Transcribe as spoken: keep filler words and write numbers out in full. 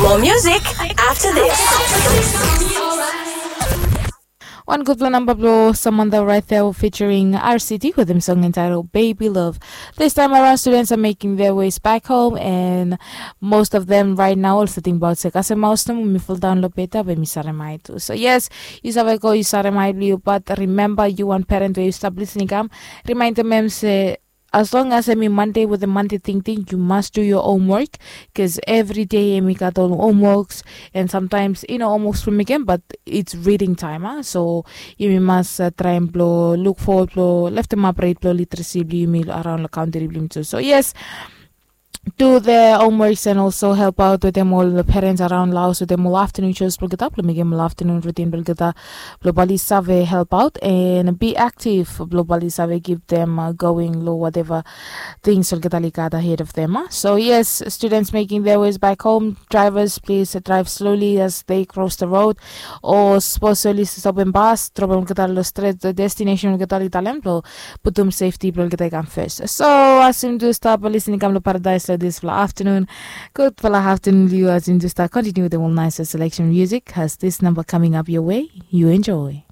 More music after this. Wan gudpela namba blong Samantha right there featuring R C T wetem song entitled Baby Love. This time around, students are making their ways back home, and most of them right now also think about se kasem maus nomo mi fall down lo beta be mi saremai tu. So yes, yu save go yu saremai blong yu, but remember, yu wan parent we yu stap listening kam, remind them em se as long as em i Monday with a Monday tingting, you must do your homework, because every day em i gat ol homeworks, and sometimes i no homeworks from again, but it's reading time, ah. So yumi mas uh, traem blong look forward blong leftem up rate blong literacy blong yumi around lo country blong yumi tu. So yes, do their homeworks and also help out wetem ol parents around laos wetem ol afternoon shows blong olgeta blong mekem ol afternoon routine blong olgeta blong bali save help out and be active blong bali save give them uh, going lo whatever things olgeta li gat ahead of them, ah. So yes, students making their ways back home, drivers, please uh, drive slowly as they cross the road, o sapos oli stopem bas, dropem olgeta lo stret destination olgeta li talem blong putum safety blong olgeta i kam first. So as yumi tu stap listening kam lo Paradise lo dispela afternoon, gudpela afternoon blong yu. As yumi tu stap continue wetem ol nice selection music, has this number coming up your way. You enjoy.